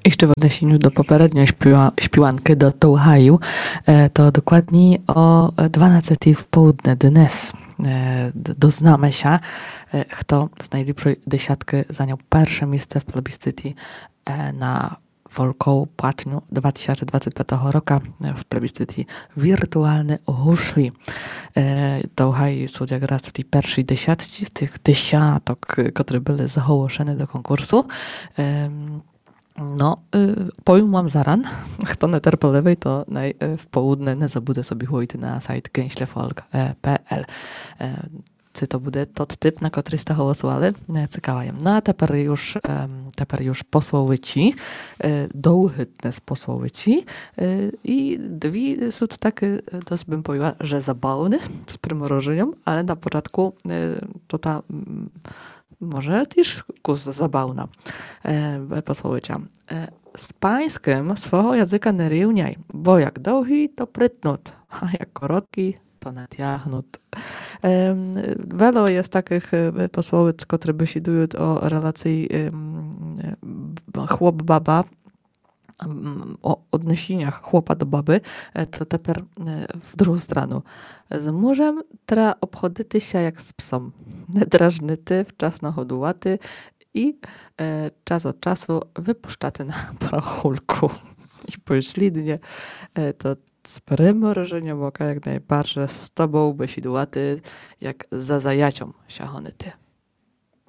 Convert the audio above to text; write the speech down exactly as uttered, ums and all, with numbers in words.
Іщы в однесеню до попередньой шпіва-, шпіванкы до Довгаю, е, то докладні о, е, дванадцятій в полудне днес, е, д-, дознаме ся, е, хто з найліпшой десяткы заняв перше місце в плебісциті, е, на фолкову платню два тисячы двадцять пятого рока, е, в плебісциті Віртуалны гушлі. Е, Довгаї сут якраз в тій першій десятці з тых десяток, е, котры были заголошены до конкурсу. Ем, Но, е, повім вам заран, хто нетерпеливый, то най, е, в полудне не забуде собі ходити на сайт геншлеfolk, е, пе ел. Е, ци то буде тот тип, на котрый сте голосовали? Е, цікава єм. Но а тепер юж, ем, тепер юж пословичі, е, довгы днес пословичі, е, і дві сут такы, е, досить бым повіла, же забавны, з примороженьом, але на початку, е, то та, м, може тіж кус забавна, е, пословича. Е, з паньскым свого языка не рівняй, бо як довгій, то притнут, а як короткій, то натягнут. Ем, вело єст такых, е, пословиц, котры бесідуют о релації, ем, е, хлоп-баба, м, о однесінях хлопа до бабы, е, то тепер, е, в другу страну. З мужем треба обходити ся як з псом. Не дражнити, вчасно годувати і, е, час од часу выпущати на прогулку. І посліднє, е, то з примороженьом ока як найбарже з тобов бесідувати, як за заячом ся гонити.